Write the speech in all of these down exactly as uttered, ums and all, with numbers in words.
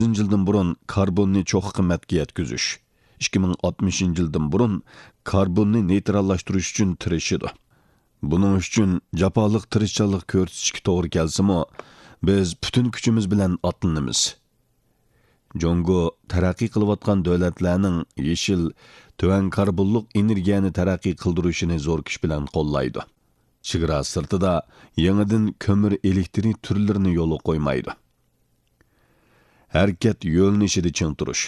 يىلدىن بۇرۇن كاربوننى چوققا قىممەتكە يەتكۈزۈش، ئىككى مىڭ ئاتمىشىنچى يىلدىن بۇرۇن كاربوننى نېيتراللاشتۇرۇش ئۈچۈن تىرىشىدۇ. بۇنىڭ ئۈچۈن جاپالىق تىرىشچانلىق كۆرسىتىشكە توغرا كەلسىمۇ، بىز پۈتۈن كۈچىمىز بىلەن ئاتلىنىمىز. جۇڭگو تەرەققىي قىلىۋاتقان دۆلەتلەرنىڭ يېشىل، تۆۋەن كاربونلۇق ئېنېرگىيەنى تەرەققىي قىلدۇرۇشىنى زور كۈچ بىلەن قوللايدۇ. چېگرا سىرتىدا يېڭىدىن كۆمۈر ئېلېكترىك تۈرلىرىنى يولغا قويمايدۇ. ھەرىكەت يۆنىلىشىدە چىڭ تۇرۇش.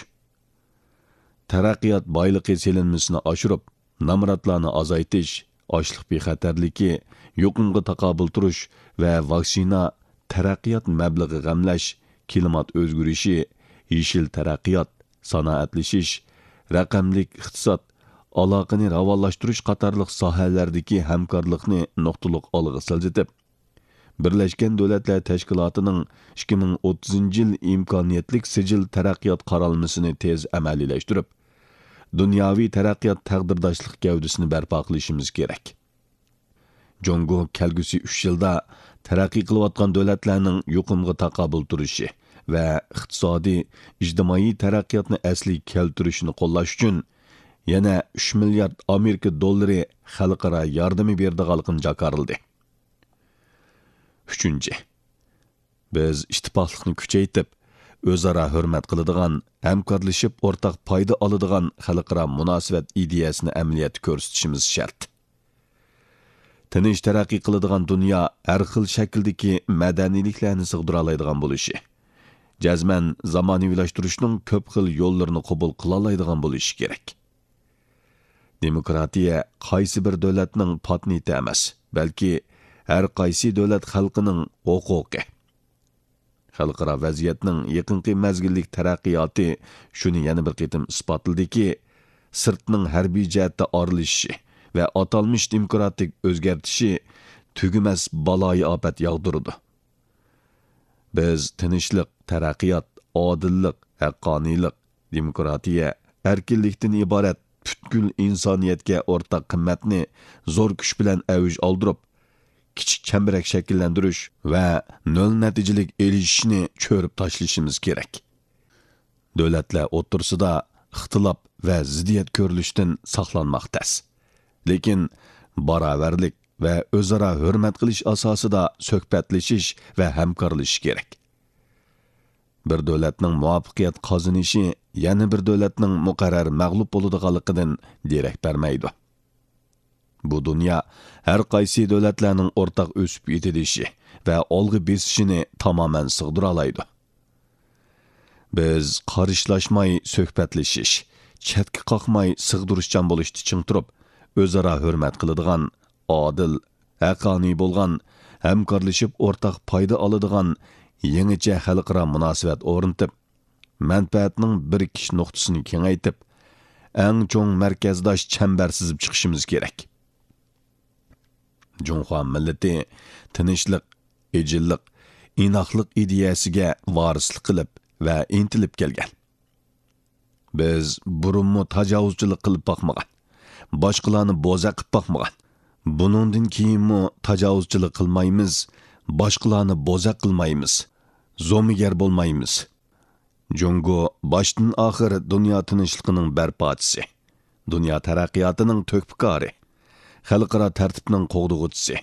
تەرەققىيات بايلىقى سېلىنمىسىنى ئاشۇرۇپ، نامراتلارنى ئازايتىش، ئاشلىق بىخەتەرلىكى، يۇقۇمغا تاقابىل تۇرۇش ۋە ۋاكسىنا، تەرەققىيات مەبلىغى غەملەش، كىلىمات ئۆزگىرىشى، يېشىل تەرەققىيات، سانائەتلىشىش، رەقەملىك ئىقتىساد، ئالاقىنى راۋانلاشتۇرۇش قاتارلىق ساھەلەردىكى ھەمكارلىقنى نۇقتىلىق ئالغا سىلجىتىپ، بىرلەشكەن دۆلەتلەر تەشكىلاتىنىڭ ئىككى مىڭ ئوتتۇزىنچى يىل ئىمكانىيەتلىك سىجىل تەرەققىيات قارالمىسىنى تېز ئەمەلىيلەشتۈرۈپ، دۇنياۋى تەرەققىيات تەقدىرداشلىق گەۋدىسىنى بەرپا قىلىشىمىز كېرەك. جۇڭگو كەلگۈسى ئۈچ يىلدا تەرەققىي قىلىۋاتقان دۆلەتلەرنىڭ يۇقۇمغا تاقابىل تۇرۇشى ۋە ئىقتىسادىي، ئىجتىمائىي تەرەققىياتنى ئەسلىگە كەلتۈرۈشىنى قوللاش ئۈچۈن يەنە ئۈچ مىليارد ئامېرىكا دوللىرى خەلقئارا ياردىمى بېرىدىغانلىقىنى جاكارلىدى. ئۈچىنچى، بىز ئىتتىپاقلىقنى كۈچەيتىپ، ئۆزئارا ھۆرمەت قىلىدىغان، ھەمكارلىشىپ ئورتاق پايدا ئالىدىغان خەلقئارا مۇناسىۋەت ئىدىيەسىنى ئەمەلىيەتتە كۆرسىتىشىمىز شەرت. تىنچ تەرەققىي قىلىدىغان دۇنيا ھەر خىل شەكىلدىكى مەدەنىيلىكلەرنى سىغدۇرالايدىغان بولۇشى، جەزمەن زامانىۋىلاشتۇرۇشنىڭ كۆپ خىل يوللىرىنى قوبۇل قىلالايدىغان بولۇشى كېرەك. دېموكراتىيە قايسى بىر دۆلەتنىڭ پاتېنتى ئەمەس، بەلكى ھەر قايسى دۆلەت خەلقىنىڭ ھوقۇقى. خەلقئارا ۋەزىيەتنىڭ يېقىنقى مەزگىللىك تەرەققىياتى شۇنى يەنە بىر قېتىم ئىسپاتلىدىكى، سىرتنىڭ ھەربىي جەھەتتە ئارىلىشىشى ۋە ئاتالمىش دېموكراتىك ئۆزگەرتىشى تۈگىمەس بالايىئاپەت ياغدۇرىدۇ. بىز تىنچلىق، تەرەققىيات، ئادىللىق، ھەققانىيلىق، دېموكراتىيە، ئەركىنلىكتىن ئىبارەت پۈتكۈل ئىنسانىيەتكە ئورتاق قىممەتنى زور كۈچ بىلەن ئەۋج ئالدۇرۇپ، كىچىك چەمبىرەك شەكىللەندۈرۈش ۋە نۆل نەتىجىلىك ئېلىشىشنى چۆرۈپ تاشلىشىمىز كېرەك. دۆلەتلەر ئوتتۇرىسىدا ئىختىلاپ ۋە زىددىيەت كۆرۈلۈشتىن ساقلانماق تەس. لېكىن باراۋەرلىك ۋە ئۆزئارا ھۆرمەت قىلىش ئاساسىدا سۆھبەتلىشىش ۋە ھەمكارلىشىش كېرەك. بىر دۆلەتنىڭ مۇۋەپپەقىيەت قازىنىشى يەنە بىر دۆلەتنىڭ مۇقەررەر مەغلۇپ بولىدىغانلىقىدىن دېرەك بەرمەيدۇ. بۇ دۇنيا ھەر قايسى دۆلەتلەرنىڭ ئورتاق ئۆسۈپ يېتىلىشى ۋە ئالغا بېسىشىنى تامامەن سىغدۇرالايدۇ. بىز قارشىلاشماي سۆھبەتلىشىش، چەتكە قاقماي سىغدۇرۇشچان بولۇشتا چىڭ تۇرۇپ، ئۆزئارا ھۆرمەت قىلىدىغان، ئادىل، ھەققانىي بولغان، ھەمكارلىشىپ ئورتاق پايدا ئالىدىغان يېڭىچە خەلقئارا مۇناسىۋەت ئورنىتىپ، مەنپەئەتنىڭ بىرىكىش نۇقتىسىنى كېڭەيتىپ، ئەڭ چوڭ مەركەزداش چەمبەر سىزىپ چىقىشىمىز كېرەك. جۇڭخۇا مىللىتى تىنچلىق، ئىجىللىق، ئىناقلىق ئىدىيەسىگە ۋارىسلىق قىلىپ ۋە ئىنتىلىپ كەلگەن. بىز بۇرۇنمۇ تاجاۋۇزچىلىق قىلىپ باقمىغان، باشقىلارنى بوزەك قىلىپ باقمىغان. بۇنىڭدىن كېيىنمۇ تاجاۋۇزچىلىق قىلمايمىز، باشقىلارنى بوزەك قىلمايمىز، زومىگەر بولمايمىز. جۇڭگو باشتىن ئاخىر دۇنيا تىنچلىقىنىڭ بەرپاچىسى، دۇنيا تەرەققىياتىنىڭ تۆھپىكارى، خەلقئارا تەرتىپنىڭ قوغدىغۇچىسى،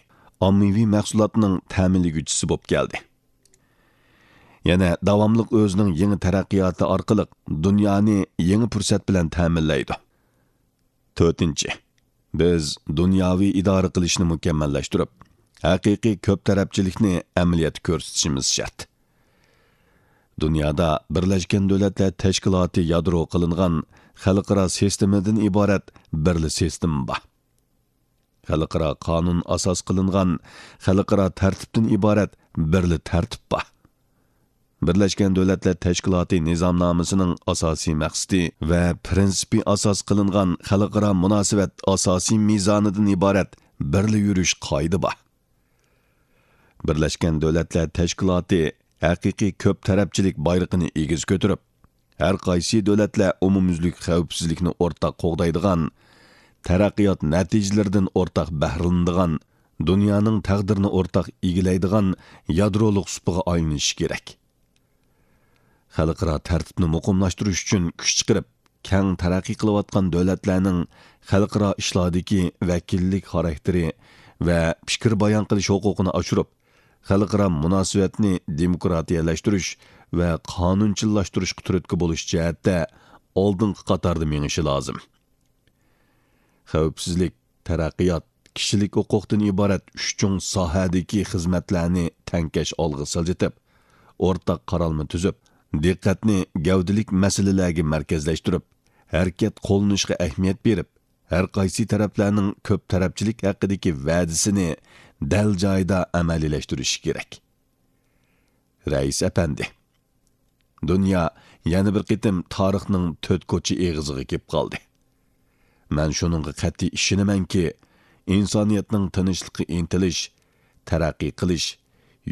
ئاممىۋى مەھسۇلاتنىڭ تەمىنلىگۈچىسى بولۇپ كەلدى. يەنە داۋاملىق ئۆزىنىڭ يېڭى تەرەققىياتى ئارقىلىق دۇنيانى يېڭى پۇرسەت بىلەن تەمىنلەيدۇ. تۆتىنچى، بىز دۇنياۋى ئىدارە قىلىشنى مۇكەممەللەشتۈرۈپ، ھەقىقىي كۆپ تەرەپچىلىكنى ئەمەلىيەتتە كۆرسىتىشىمىز شەرت. دۇنيادا بىرلەشكەن دۆلەتلەر تەشكىلاتى يادرو قىلىنغان خەلقئارا سىستېمىدىن ئىبارەت بىرلا سىستېما بار. خەلقئارا قانۇن ئاساس قىلىنغان خەلقئارا تەرتىپتىن ئىبارەت بىرلا تەرتىپ بار. بىرلەشكەن دۆلەتلەر تەشكىلاتى نىزامنامىسىنىڭ ئاساسىي مەقسىتى ۋە پىرىنسىپى ئاساس قىلىنغان خەلقئارا مۇناسىۋەت ئاساسىي مىزانىدىن ئىبارەت بىرلا يۈرۈش قائىدە بار. بىرلەشكەن دۆلەتلەر تەشكىلاتى ھەقىقىي كۆپ تەرەپچىلىك بايرىقىنى ئېگىز كۆتۈرۈپ، ھەر قايسى دۆلەتلەر ئومۇميۈزلۈك خەۋپسىزلىكنى ئورتاق قوغدايدىغان، تەرەققىيات نەتىجىلىرىدىن ئورتاق بەھرىلىنىدىغان، دۇنيانىڭ تەقدىرىنى ئورتاق ئىگىلەيدىغان يادرولۇق سۇپىغا ئايلىنىشى كېرەك. خەلقئارا تەرتىپنى مۇقىملاشتۇرۇش ئۈچۈن كۈچ چىقىرىپ، كەڭ تەرەققىي قىلىۋاتقان دۆلەتلەرنىڭ خەلقئارا ئىشلاردىكى ۋەكىللىك خاراكتېرى ۋە پىكىر بايان قىلىش ھوقۇقىنى ئاشۇرۇپ، خەلقئارا مۇناسىۋەتنى دېموكراتىيەلەشتۈرۈش ۋە قانۇنچىللاشتۇرۇشقا تۈرتكە بولۇش جەھەتتە ئالدىنقى قاتاردا مېڭىشى لازىم. خەۋپسىزلىك، تەرەققىيات، كىشىلىك ھوقۇقتىن ئىبارەت ئۈچ چوڭ ساھەدىكى خىزمەتلەرنى تەڭكەش ئالغا سىلجىتىپ، ئورتاق قارالما تۈزۈپ، دىققەتنى گەۋدىلىك مەسىلىلەرگە مەركەزلەشتۈرۈپ، ھەرىكەت قوللىنىشقا ئەھمىيەت بېرىپ، ھەر قايسى تەرەپلەرنىڭ كۆپ تەرەپچىلىك ھەققىدىكى ۋەدىسىنى دەل جايىدا ئەمەلىيلەشتۈرۈشى كېرەك. رەئىس ئەپەندى، دۇنيا يەنە بىر قېتىم تارىخنىڭ تۆت كوچا ئېغىزىغا كېلىپ قالدى. مەن شۇنىڭغا قەتئىي ئىشىنىمەنكى، ئىنسانىيەتنىڭ تىنچلىققا ئىنتىلىش، تەرەققىي قىلىش،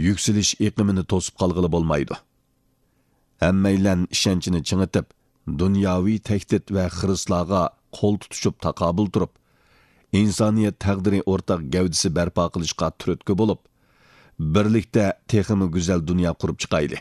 يۈكسىلىش ئېقىمىنى توسۇپ قالغىلى بولمايدۇ. ھەممەيلەن ئىشەنچىنى چىڭىتىپ، دۇنياۋى تەھدىت ۋە خىرىسلارغا قول تۇتۇشۇپ تاقابىل تۇرۇپ، ئىنسانىيەت تەقدىرى ئورتاق گەۋدىسى بەرپا قىلىشقا تۈرتكە بولۇپ، بىرلىكتە تېخىمۇ گۈزەل دۇنيا قۇرۇپ چىقايلى.